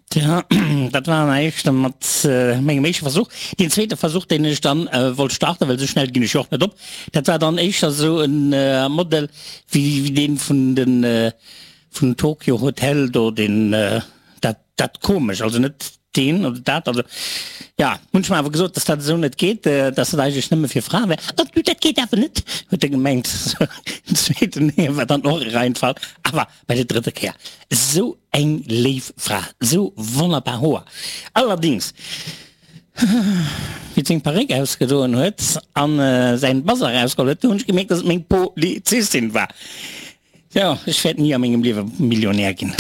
Tja, dat war näischt mat mengem éischte Versuch. Deen zweete Versuch, deen ech dann wollt starten, well esou schnell ginn ech jo och net op, dat war dann éischter esou e Model wéi deen vun de vun Tokio Hotel do, deen dat dat komesch, also net deen oder dat, also ja, hunn ech mer awer gesot, dass dat esou net geet, dass dat eigentlech nëmme fir Frae wär. Oh du, dat geet awer net, huet e gemengt. Den zweeten war dann och e Reinfall, awer bei der drëtter Kéier esou eng léif Fra, esou wonnerbar Hoer. Allerdings, wéi et seng Paréck ausgedoen huet an säin Bazar erausgeholl huet, du hunn ech gemierkt, dass et meng Polizistin war. Jo, ech wäert ni a mengem Liewe Millionär ginn.